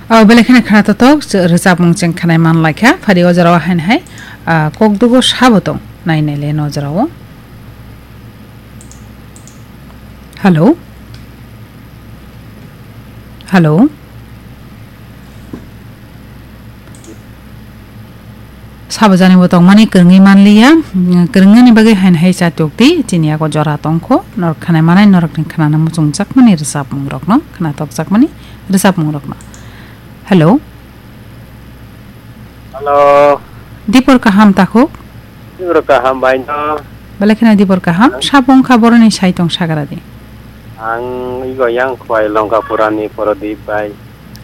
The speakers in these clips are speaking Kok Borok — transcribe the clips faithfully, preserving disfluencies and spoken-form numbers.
O belai kheno khna totok, ch-, rwchapmung chwng khnai man lai kha. Phari o jora o haino hai, ah, kok dugo sabo tong. Nai nai le no jora o. Hello? Hello? Sabo jani bo tongmani kwrwngwi manliya, mm, kwrwngnani bagwi haino hai cha tokdi, chini yago jora tongkho, norok khanai manai, norokni khnana muchungjakmani rwchapmungrokno, khnatokjakmani rwchapmungrokno. Hello? Hello. Dipor kaham takhuk? Dipor kaham bai no. Belai kheno dipor kaham, sabo wngkha boroni sai tong sagra di. Ang igo yang khwai Longkapurani Prodip bai.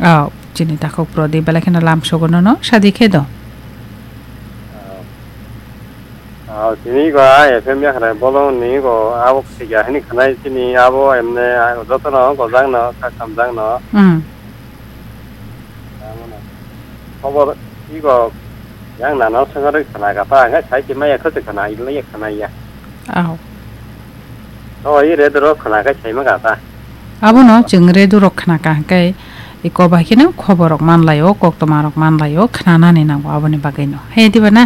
Oh, chini takhuk Prodip, belai kheno lam sogono no, sadi khe do. Oh, tini go a F M yakhrai bolong ni go abo khaiga hini khanai tini abo emne jotono gojak no, kha kamjak no. Hmm. Khobor igo yang nana sengari khana kata, ang sai ti maya khose khana, ilai khana ya. Oh. Oh, i re doro khana kai sai ma kata. Abono chwng radio rok khna ka hwnkhe, iko bai kheno khobor rok man lai o, koktwma rok man lai o, khnanani nango aboni bagwi no. He diba na?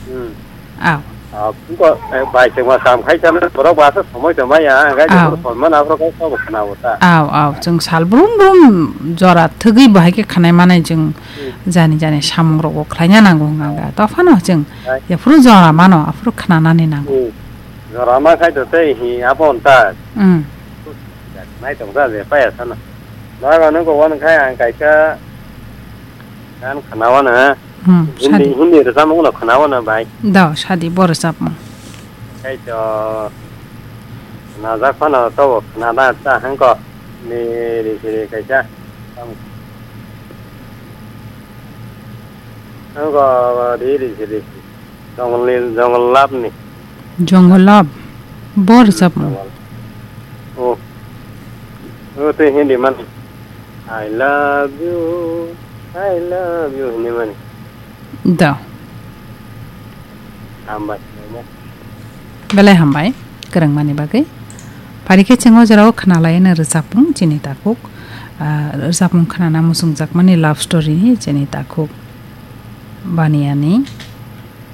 Hmm. Aw. Ah, ko, eh, bai chwng ma kam khai chana borok ba sa somoi tong maya, ang gai Aw. Jor son man abrok ko ko khna bo ta. Aw, aw, chwng sal brum brum jora thwgwi bo hai khe khnai manai chwng Hmm. jani jani samung rok bo khlaina nango hwnga ga. Tophano chwng Hai. Yaphuru jora mano, aphuru khnanani nango. Hmm. Jora ma khai to tei hi abo onta. Hmm. Nai tong ta je paya sana. Naga no go wan khai ang kaisa gan khna wana. Hmm, Hindi, sadi. Hindi rwchapmung no khna wana bai. Da, sadi bo rwchapmung. Khai to khna jak phano to khna da ta hangko. Ni ri siri kaisa. Hangko ri ri siri. Jongol ni, jongol love ni. Jongol love. Bo rwchapmung. Jongol. Oh. Oh, tei Hindi mani. I love you, I love you hinwi mani. Da. Hambai. Belai hambai, kwrwngmani bagwi. Phari khe chwng o jorao khna lai no rwchapmung chini takhuk. Ah, rwchapmung khnana muchungjakmani love story ni chini takhuk. Baniyani.